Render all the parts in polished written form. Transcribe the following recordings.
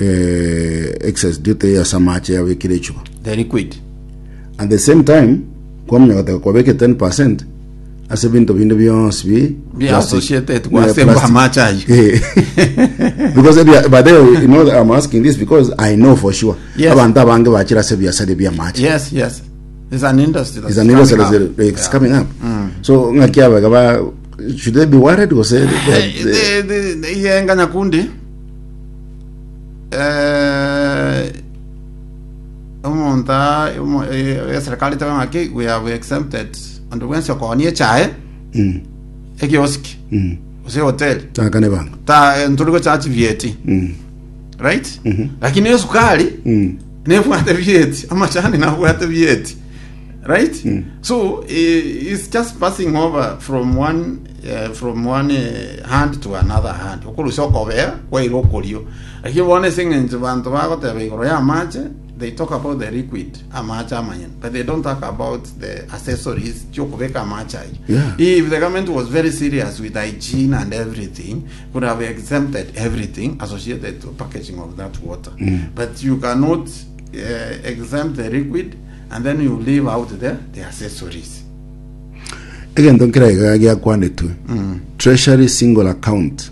Eh, excise duty ase amache yabekire echuba. The liquid. At the same time, kwamanya goteba kwabeke 10% ase ebinto binde bionsi bi Bi plastic. associated Yeah, gwasemba plastic. amache ayio. Eh. because ebia- by the way, you know I'm asking this because I know for sure Yes. abanto abange bachire ase ebiasara bia amache Yes, yes. It's an industry that's It's an industry coming that's up. it's Yeah. coming up. So ng'aki abaga ba should they be worried gose Eh, the- the- the- iyenga nyakundi eh, omonto a- omo- eh, eserikali etebe ng'aki we have exempted onde bwensi okoonia echae Mm, ekiosiki mm. gose ehoteli Takane banga. ta eh, ntori gochachi vieti Mm, right lakini esukari mm. nebwate vieti amachani nabwate vieti right so eh, it's just passing over from one eh, from one eh, hand to another hand okorusia okobea kwaira okorio lakini bono ase eng'encho banto bagoteba igoro ya amache they talk about the liquid amache amanyene but they don't talk about the accessories chiokobeka amache ayio Yeah. if the government was very serious with hygiene and everything could have exempted everything associated to packaging of that water but you cannot uh, exempt the liquid and then you leave out the, the accessories Egento nkera iga giakwanetwe treasury single account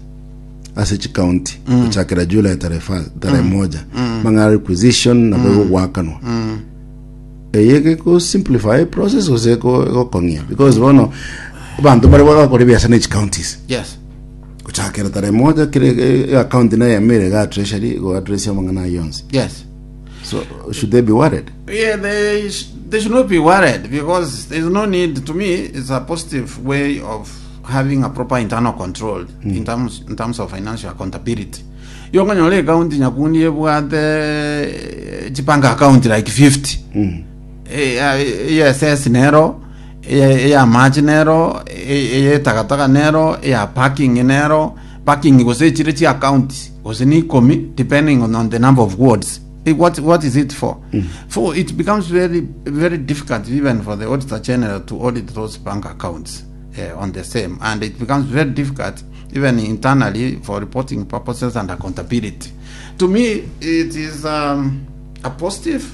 ase chikaunti gochakera July tarehe fa- tarehe moja mang'ana requisition nabo egogwakanwa eye geko simplify process gose ego- egokong'ia because bono abanto bare bagakora ebiasara ne chicounties yes gochakera tarehe moja kere e- account naye emere iga treasury go address amang'ana ayio onsi yes so should they be worried Yeah, they, sh- they should not be worried because there's no need. To me, it's a positive way of having a proper internal control in terms in terms of financial accountability. Yokonyora account nyakundi ebwate eh, chipanga account like 50 Eh, eh, ESS nero eya amache nero eye takataka nero eya parking nero parking gose echire chi account gose ni ikomi depending on, on the number of wards Eh, what, what is it for for it becomes very very difficult even for the auditor general to audit those bank accounts uh, on the same and it becomes very difficult even internally for reporting purposes and accountability to me it is um, a positive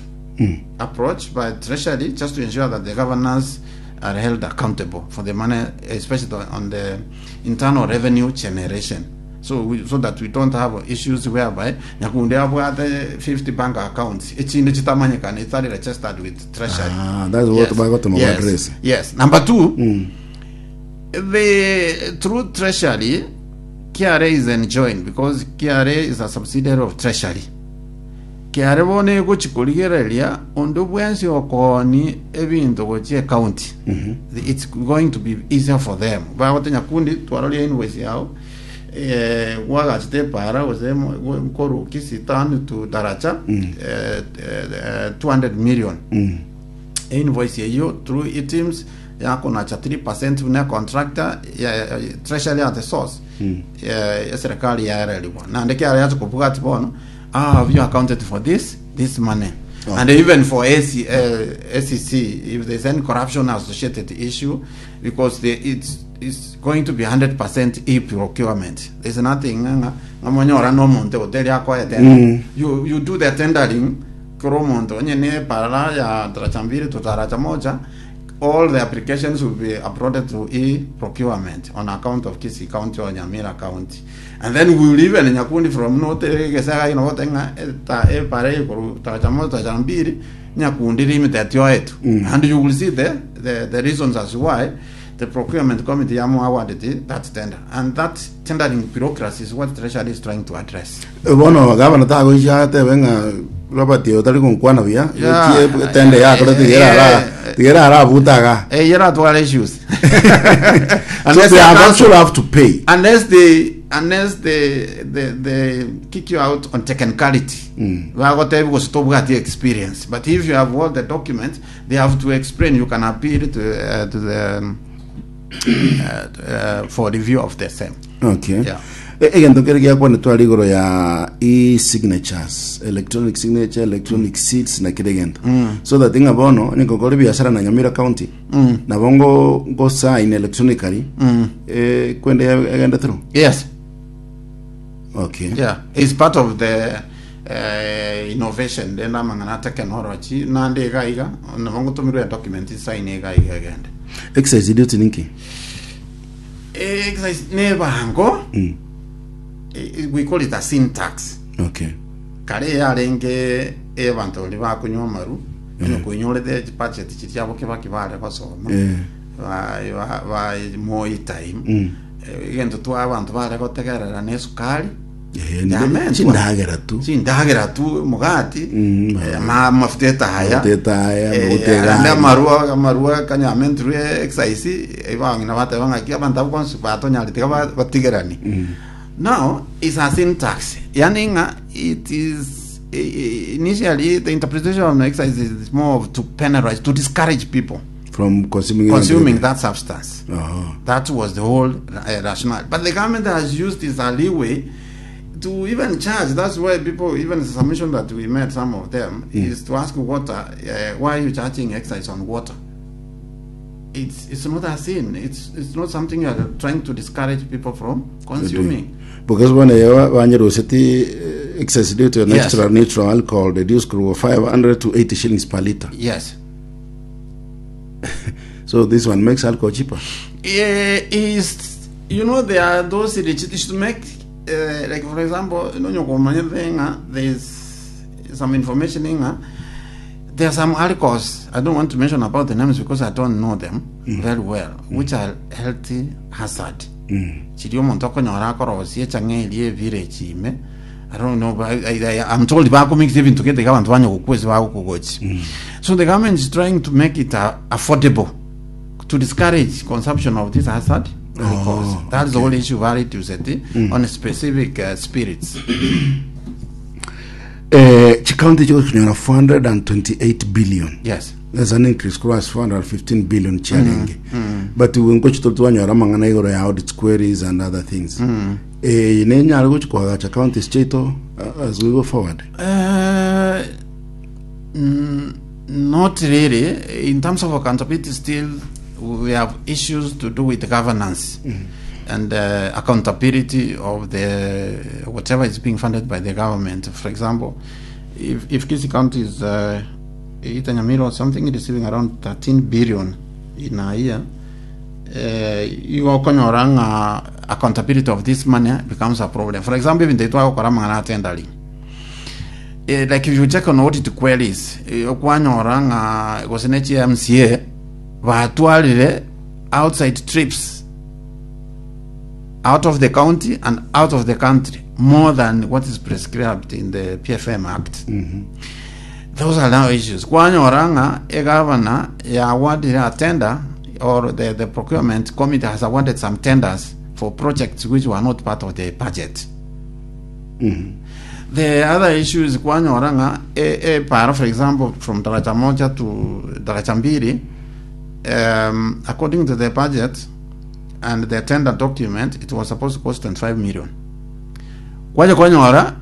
approach by treasury just to ensure that the governors are held accountable for the money especially the- on the internal revenue generation so we, so that we don't have issues whereby nyakunde abwate 50 bank accounts echinde chitamanyekana itari registered with treasury Ah, that's what bagotoma yes. address. yes number two the through treasury KRA is enjoined because KRA is a subsidiary of treasury Kiare bono egochi korigereria onde bwensi okooni ebinto gochia ecounty it's going to be easier for them bagote nyakundi twaroria invoice yao eh, gwagachete epara gose mo- gwe- nkoru Kisii town to Daracha eh, eh, eh, 200 million invoice eyio through items yakonacha 3% buna contractor ya, ya, treasury at the source eh, eserikali yaererigwa naende kiare yacha kobwati bono Ah, have you accounted for this this money? Oh. And even for AC, uh, SEC, if there's any corruption associated issue, because the, it's it's going to be 100% e-procurement. There's nothing. nga- nga monyora no monto hoteli akoe tender. You you do the tendering koro monto onye ne parala ya daraja mbili to daraja moja all the applications will be uploaded to e-procurement on account of Kisii County or Nyamira County. And then we will even Nyakundi from North Gesaga you know what ta e pare koru daraja moja daraja mbili Nyakundi limited yoetu. And you will see the, the the reasons as why the procurement committee yamu awarded that tender. And that tendering bureaucracy is what Treasury is trying to address. bono gavana tagoicha atebe ng'a Robert oyo tari gonkwana buya Yeah. etie tende yakore tigera ara Yeah. tigera arabuta iga Eh, yeratwara issues. so Unless they the have council- actually have to pay unless they unless they they, they kick you out on technicality bagotebi gose tobwati experience but if you have all the documents they have to explain you can appeal to, uh, to the um, uh, uh, for review of the same okay Yeah. E- egento kere giakwanetwe are igoro ya e-signatures electronic signature electronic seats na kere egento so that ng'a bono onye gokora ebiasara na nyamira county nabo ngo ngo sign electronically eh, kwende egende through yes okay yeah it's part of the eh, innovation rende amang'ana a technology nande iga iga nabo ngotomirwe edocument sign iga iga egende. Excise duty ninki? Excise nebango we call it a sin tax. Okay. Kare yarenge ebanto baria bakonywa amaru onye koinyorete chibudget chiria chiabo kebaki bare gosoma Eh. ba, ba, ba Moi time egento twa abanto bare gotegerera na esukari Eh, nde- Yamentwa. chindagera tu chindagera tu omogati Mm, amafuta etaya Amafuta etaya, amafuta ande egari. amarwa amarwa kanyamentirwe exercise ebang'ina bateba ng'aki abanto abwo bonsi batonyarete tiga batigerani now is a sin tax yani ng'a it is initially the interpretation of excise is more of to penalize to discourage people from consuming consuming that substance Oh. That was the whole rationale. But the government has used this a leeway to even charge. That's why people, even the submission that we made, some of them, is to ask water, why are you charging excise on water? It's not a sin. It's not something you are trying to discourage people from consuming. Because when banyeruseti excise duty on Yes. extra neutral alcohol reduced from 500 to 80 shillings per liter. Yes. So this one makes alcohol cheaper. Is you know there are those it should make like for example nonyokomanya thenga there's some information inga there are some alcohols I don't want to mention about the names because I don't know them very well which are healthy hazard chiri omonto okonyora akorosia echang'a eria evillage ime I don't know, but I'm told bakomix ebinto gete iga abanto banya gokwa ase bagokogochi. So the government is trying to make it affordable to discourage consumption of this hazard alcohols. That's the whole issue reduce it on specific spirits. Chikaunti chigokonyora 428 billion. Yes. That's an increase cross 415 billion chiarenge. But we ngochi twanyora amang'ana igoro ya audit queries and other things. Nenyare gochi koagacha counties chiaito as we go forward. Not really. In terms of accountability, still we have issues to do with governance and accountability of the whatever is being funded by the government. For example, if Kisii County is Itanyamira or something receiving around 13 billion in a year, igokonyora ng'a accountability of this money becomes a problem. For example, even the twagokora mang'ana atendali like if you check on audit queries okwanyora ng'a gose ne chi MCA batwarire outside trips out of the county and out of the country more than what is prescribed in the PFM Act. Those are now issues. Kwanyora ng'a egavana ya awarded a tender or the procurement committee has awarded some tenders for projects which were not part of the budget. The other issue is kwanyora ng'a e para for example from Daraja Moja to Daraja Mbili according to the budget and the tender document it was supposed to cost 25 million. Kwaja kwanyora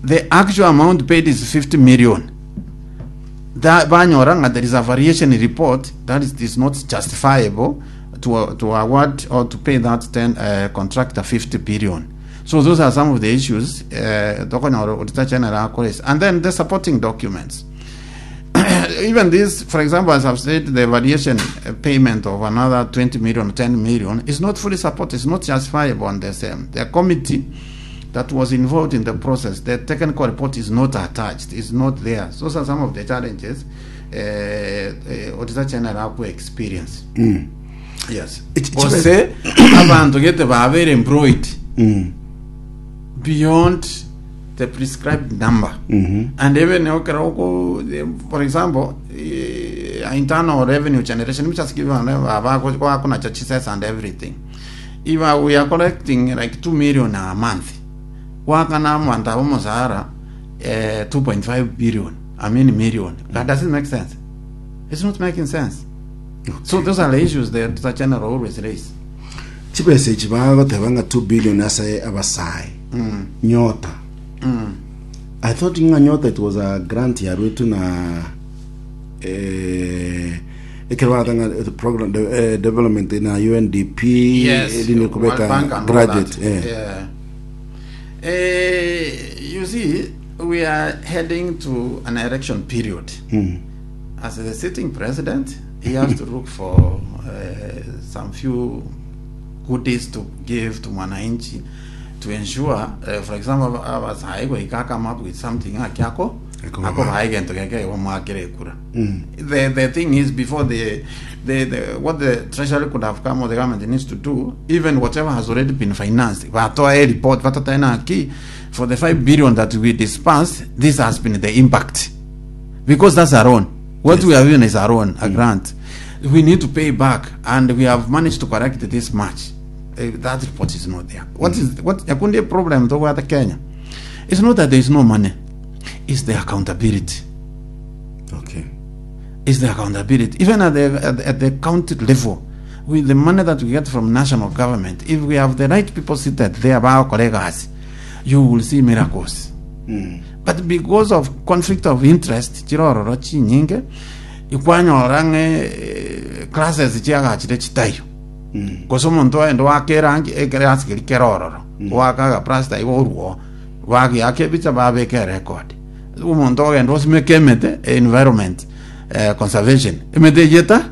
the actual amount paid is 50 million. That banyora nga there is a variation report that is not justifiable to award or to pay that contractor 50 billion. So those are some of the issues tokonyora Auditor General akoresa. And then the supporting documents. Even this, for example, as I've said, the variation payment of another 20 million, 10 million is not fully supported, it's not justifiable on the same. The committee that was involved in the process, the technical report is not attached, it's not there. So those are some of the challenges Auditor General aku experience. Yes. Gose abantu gete babere employed beyond the prescribed number. And even for example, internal revenue generation, which has given churches and everything. If we are collecting like 2 million a month, wakana mwanta omosara 2.5 billion, I mean million. That doesn't make sense. It's not making sense. So those are the issues that the general always raise. Chibesa echi bagoteba ng'a 2 billion ase abasai nyota. I thought ng'a nyota it was a grant yarwetu na ekero baratanga the program the, development na UNDP. Yes, rine World kubeka Bank and all graduate that. Yeah. You see, We are heading to an election period. As the sitting president, he has to look for some few goodies to give to mwananchi to ensure, for example, abasae goika come up with something ng'aki ako Akoba. akobaha egento geke bamwakere ekura. The thing is, before the what the treasury could have come or the government needs to do, even whatever has already been financed, batoa a report batatae naki for the 5 billion that we dispersed, this has been the impact, because that's our own. What we have given is our own, a grant. We need to pay back, and we have managed to correct this much. That report is not there. What is what yakundi problem to what Kenya? It's not that there is no money. It's the accountability. It's the accountability. Even at the county level, with the money that we get from national government, if we have the right people seated there, bagokora, you will see miracles. But because of conflict of interest, chirororo chinyinge, ikwanyora ng'e classes chiagachire chitayo. Gose omonto oende wake erangi ekerasi keri kerororo wakaga plaster igo oruo bagiaka ebicha babeka erecord omonto ogenda osimeka emete, environment, conservation emete eyeta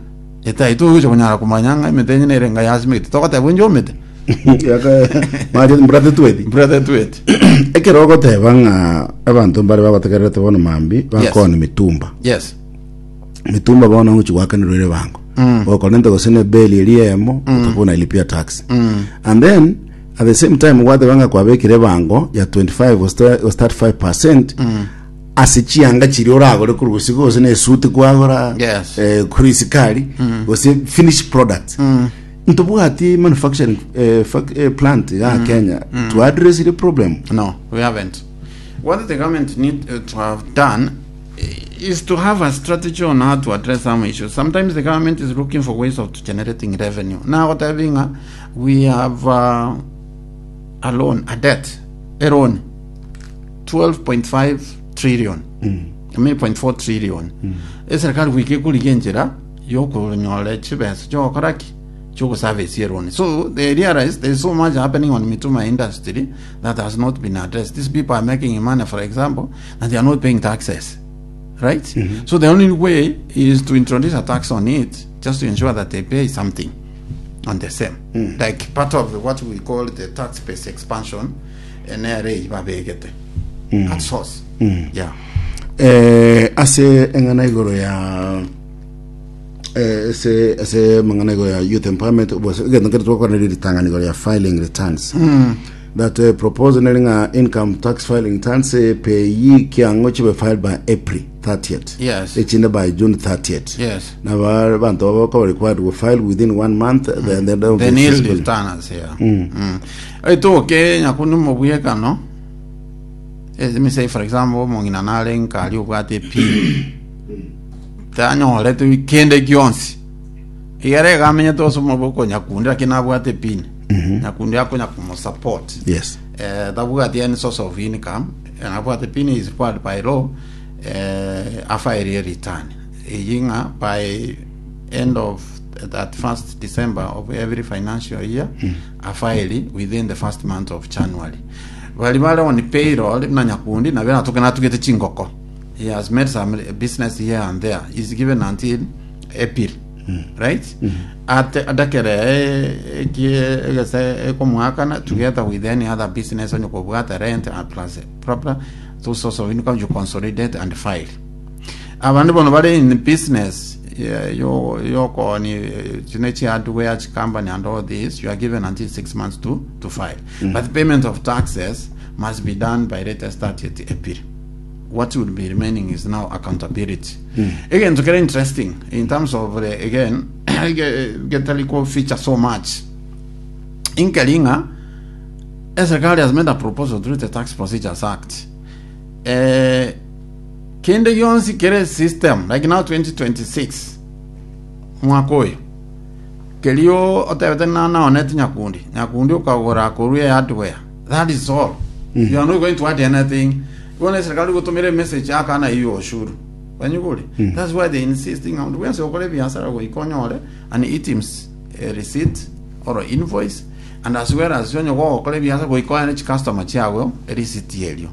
etaitogocha konyara kumanya ng'a emete enye nere nga yasimekete togoteba onye omete. Maje mbrate tweti. Brother twet. Ekero ogoteba ng'a abanto mbare bagotegererete bono mambi bakona mitumba. Mitumba bono ngochi gwakanirwa ere bango okorente gose ne beli eri emo utakuwa unailipia tax, and then at the same time gwateba ng'a kwabekire bango ya 25 gose 35% ase chianga chiri oragore korwa gose gose na esuti kwagora kuri isikari gose finished product. Ntobwati manufacturing plant ya Kenya to address the problem. No, we haven't. What the government need to have done is to have a strategy on how to address some issues. Sometimes the government is looking for ways of generating revenue. Now, what having we have a loan, a debt, a loan, 12.5 trillion. I mean, 0.4 trillion. Eserikali wiki kurigia enchera yokunyola chibesa chokoraki chokuservice loan. So they realize there's so much happening on mitumba industry that has not been addressed. These people are making money, for example, and they are not paying taxes. Right? So the only way is to introduce a tax on it just to ensure that they pay something on the same. Like part of what we call the tax base expansion, NRA babegete. At source. Yeah. Ase eng'ana igoro ya ase mang'ana igoro ya youth empowerment bose egento nkere twakwana ritang'ani igoro ya filing returns that proposal neri ng'a income tax filing returns, PAYE kiang'o chibe filed by April 30th, echinde by June 30th. Na bantu baba required to file within one month, then The nil returners, yeah. Etoke nyakundi mobwekano. Let me say, for example, omong'ina nare nkari obwate pin tanyorete kende gionsi igere egamenyete ase omoboko nyakundi, lakini nabwate pin nyakundi akonya kumusupport. Tabwati any source of income and abwate pin is required by law afile return eying'a by end of that first December of every financial year, afile within the first month of January. Bali bale on payroll na nyakundi nabe natuke natugete chingoko, he has made some business here and there, is given until April, right? At adakere egese ekomwakana together with any other business onye kobwata rent and plus proper those source of income, you consolidate and file. Abandu bono bari in business, yeah, yo yokoni chinechi hardware company and all this, you are given until 6 months to file, but payment of taxes must be done by latest 30th April. What will be remaining is now accountability. Again, it's very interesting in terms of again get a little feature so much in Kalinga. Serikali has made a proposal through the Tax Procedures Act, kende yonsi kere system like now 2026 mwaka oyo kerio otebete nanaonete nyakundi nyakundi ukagura kuruya hardware, that is all. You are not going to add anything. Wona serikali gutumire message akana iyo ushuru banyuguri. That's why they insisting on wense okore biasara goikonyore an eTIMS receipt or invoice, and as well as onye gogokora ebiasara goikoyane chicustomer chiago receipt erio.